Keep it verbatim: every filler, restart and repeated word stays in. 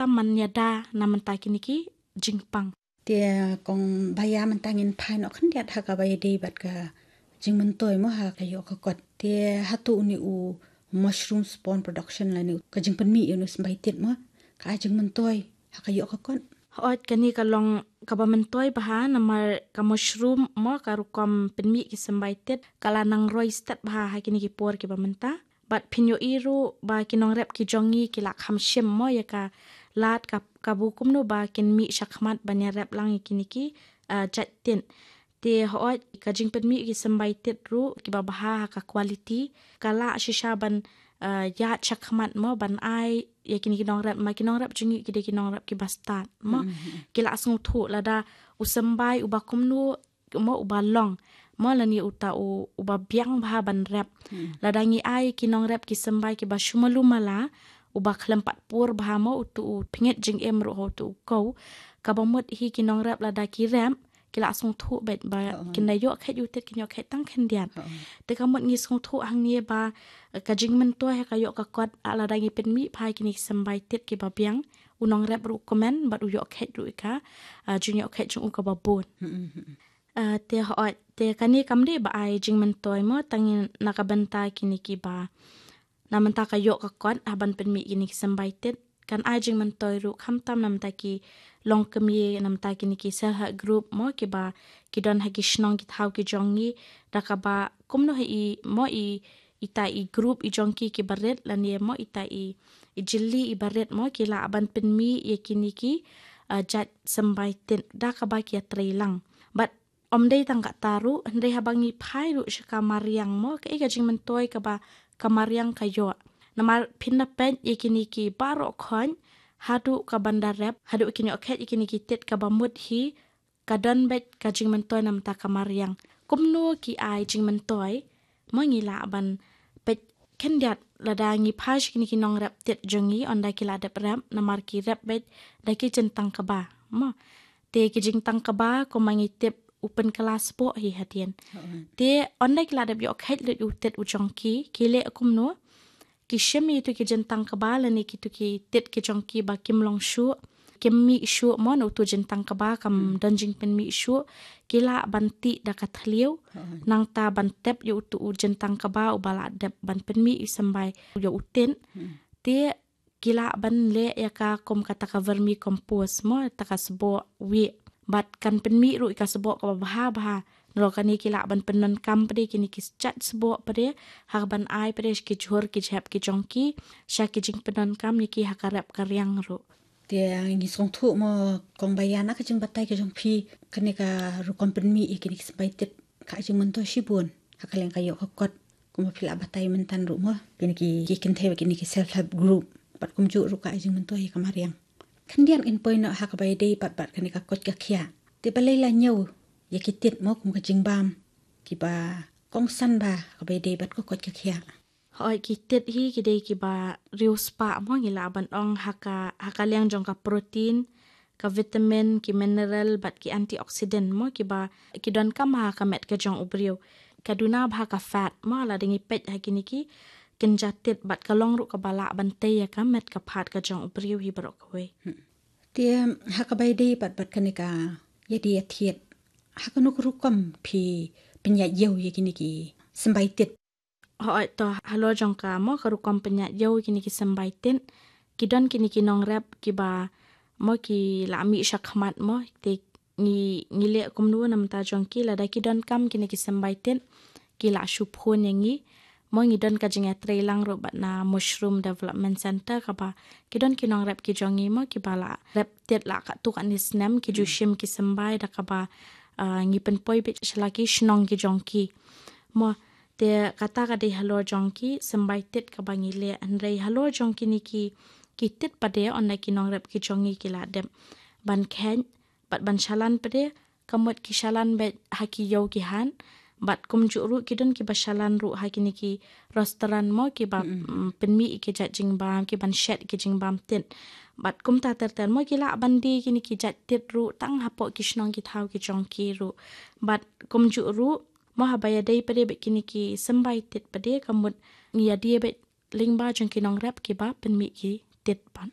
tam man ïada na mynta kine ki jingpang. Te kong Baya, mynta ngin phai noh khyndiat ha kaba ïadei bad ka jingmyntoi mo ha ka ïoh ka kot. Te hato une u mushroom spawn production lane ka jingpynmih ïa une u symbai tit mo ka ai jingmyntoi ha ka ïoh ka kot? Hooid, kane ka long kaba myntoi bha namar ka mushroom mo ka rukom pynmih ki symbai tit ka la nang roi stet bha ha kine ki por kiba mynta. Bad phin ïohi ruh ba ki nongrep ki jong ngi ki la kham shim mo ïa ka lad ka, kaba kumno ba kin mih shakhmat ban ïarep lang ïa kine ki, ah, jait tit. Te hooid, ka jingpynmih ki symbai tit ruh kiba bha ha ka quality ka lah shisha ban, ah, ïaid shakhmat mo ban ai ïa kine ki nongrep, ma ki nongrep jong ngi ki dei ki nongrep kiba stad mo. Ki la sngewthuh lada u symbai uba kumno mo uba long mo lane uta u, uba biang bha ban rep. Lada ngi ai ki nongrep ki symbai kiba shu malu mala, uba khlem pat pur bha mo, utu u pynïaid jingim ruh ha utu u kew. Kaba mut hi ki nongrep lada ki rep ki la sngewthuh beit ba kin da ïoh kheit ïa u tit, kin ïoh kheit tang khyndiat. Te ka mut ngi sngewthuh hangne ba, eh, ka jingmyntoi ha ka ïoh ka kot, ah, lada ngi pynmih bha ïa kine ki symbai tit kiba biang, u nongrep ruh kmen bad u ïoh kheit ruh ïa ka, ah, jingïoh kheit jong u kaba bun. Ah, te hooid, te kane kam dei ba ai jingmyntoi mo tang na ka bynta kine kiba na mynta ka ïoh ka kot ha ban pynmih kine ki symbai tit, kan ai jingmyntoi ruh khamtam na mynta ki longkmie, na mynta kine ki self help group mo kiba ki don ha ki shnong ki thaw ki jong ngi, da kaba kumno hi i mo i, ita i group i jong ki kiba rit lane mo ita i, i jylli iba rit mo ki lah ban pynmih ïa kine ki, ah, jait symbai tit da kaba ki ïatrei lang. Bad ym dei tang kata ruh, hynrei haba ngi phai ruh sha ka mariang mo, kaei ka jingmyntoi kaba ka mariang ka ïoh. Namar phin da peit ïa kine ki baroh khoit, haduh kaban da rep, haduh kin ïoh kheit ïa kine ki tit, kaba mut hi ka don beit ka jingmyntoi na mynta ka mariang. Kumno ki ai jingmyntoi mo, ngi lah ban peit khyndiat lada ngi phai sha kine ki nongrep tit jong ngi, ynda ki la dep rep, namar ki rep beit da ki jingtang kaba mo. Te ki jingtang kaba kumba ngi tip u pynkylla sboh hi hadien. Te ynda ki la dep ïoh kheit lut ïa u tit u jong ki, ki leh kumno? Ki shim ïa kitu ki jingtang kaba lane kitu ki tit ki jong ki ba kim long shuh, kim mih shuh mo, na utu jingtang kaba kam don jingpynmih shuh, ki lah ban tih da ka thliew, nangta ban tep ïa utu u jingtang kaba uba la dep ban pynmih ïa u symbai ïa u tit. Te ki lah ban leh ïa ka kum kata ka vermicompost mo, kata ka sboh wieh. Bad kan pynmih ruh ïa ka sboh kaba bha bha. Nalor kane ki lah ban pyndonkam pat de kine ki jait sboh pat de ha kaban ai pat de sha ki jhur ki jhep ki jong ki, sha ki jingpyndonkam ïa ki ha ka rep ka riang ruh. Te ngi sngewthuh mo kong Baya, na ka jingbatai ka jong phi, kane ka rukom pynmih ïa kine ki symbai tit ka ai jingmyntoi shibun ha ka liang ka ïoh ka kot. Kumba phi la batai mynta ruh mo, kine ki, ki kynthei bad kine ki self help group, bad kumjuh ruh ka ai jingmyntoi ïa ka mariang. Khyndiat ngin poi noh ha kaba ïadei pat bad kane ka koit ka khiah. Te balei la ñiew ïa ki tit mo kum ka jingbam kiba kongsan bha ha kaba ïadei bad ka koit ka khiah? Hooid, ki tit hi ki dei kiba riewspah mo, ngi lah ban ong ha ka, ha ka liang jong ka protein, ka vitamin, ki mineral bad ki antioxidant mo, kiba ki donkam ha ka met ka jong u briew. Ka duna bha ka fat mo, lada ngi peit ha kine ki kynja tit, bad ka long ruh kaba lah ban tei ïa ka met ka phad ka jong u briew hi baroh kawei. Te ha kaba ïadei pat bad kane ka ïadie ïathied, ha kano ka rukom phi pynïaid ïew ïa kine ki symbai tit? Hooid, to halor jong ka mo ka rukom pynïaid ïew ïa kine ki symbai tit, ki don kine ki nongrep kiba mo ki la mih shakhmat mo, te ngi, ngi leh kumno na bynta jong ki? Lada ki donkam kine ki symbai tit, ki la shu phone ïa ngi. Mo ngi don ka jingïatreilang ruh bad na Mushroom Development Centre, kaba ki don ki nongrep ki jong ngi mo kiba la rep tit la katto katne snem, ki ju shim ki symbai, da kaba, ah, ngi pynpoi beit sha la ki shnong ki jong ki. Mo, te kata ka dei halor jong ki symbai tit kaba ngi leh, hynrei halor jong kine ki, ki tit pat de, ynda ki nongrep ki jong ngi ki la dep ban kheit bad ban shalan pat de, ka mut ki shalan beit ha ki ïew ki hat, bad kumjuh ruh ki don kiba shalan ruh ha kine ki restaurant mo, kiba, mm, pynmih ïa ki jait jingbam, kiban shet ïa ki jingbam tit. Bad kumta ter ter mo, ki lah ban die kine ki jait tit ruh tang hapoh ki shnong ki thaw ki jong ki ruh. Bad kumjuh ruh mo, haba ïadei pat de bad kine ki symbai tit pat de, ka mut ngi ïadie beit lyngba jong ki nongrep kiba pynmih ki tit pat.